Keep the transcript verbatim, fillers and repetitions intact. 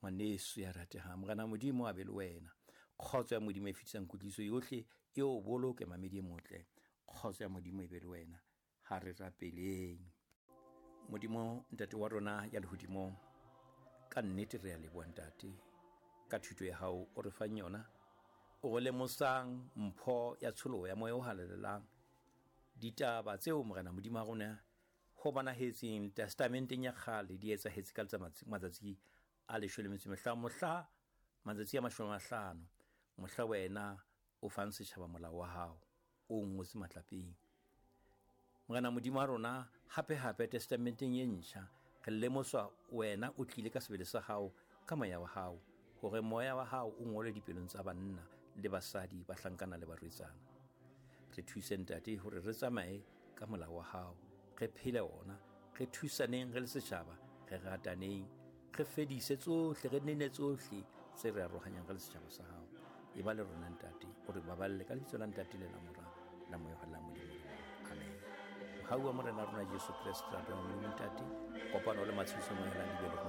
Ngwaneso ya ratehang, Morena Modimo a be le wena. Kgotso ya Modimo e fetisang kutlwisiso yohle e o boloke, mamedi e motle. Kgotso ya Modimo e be le wena. Ha re rapeleng. Modimo Ntate wa rona ya lehodimong, ka nnete re a leboha Ntate ka thuto ya hao o re fang yona, o re lemosang mpho ya tsholoho ya moya o halalelang. Ditaba tseo Morena Modimo wa rona ho bonahetseng testamenteng ya kgale di etsahetse ka matsatsi a leshome le metso e mehlano, mohla matsatsi a mashome a mahlano, mohla wena o fang setjhaba molao wa hao o ngotse matlapeng. Morena Modimo wa rona, hape hape testamenteng e ntjha re lemoswa wena o tlile ka sebele sa hao ka moya wa hao, hore moya wa hao o ngolwe dipelong tsa banna le basadi, bahlankana le barwetsana. Re thuse Ntate hore re tsamaye ka molao wa hao, re phele ona, re thusaneng re le setjhaba, re rataneng, re fedise tsohle, re nene tsohle tse re arohanyang re le setjhaba sa hao. E ba le rona Ntate, o re baballe ka lebitso la Ntate le la Mora la Moya wa Modimo. Amen. Mohau wa Morena rona Jesu Kreste, rato ya Modimo Ntate, kopano le matshediso moya la di be le rona.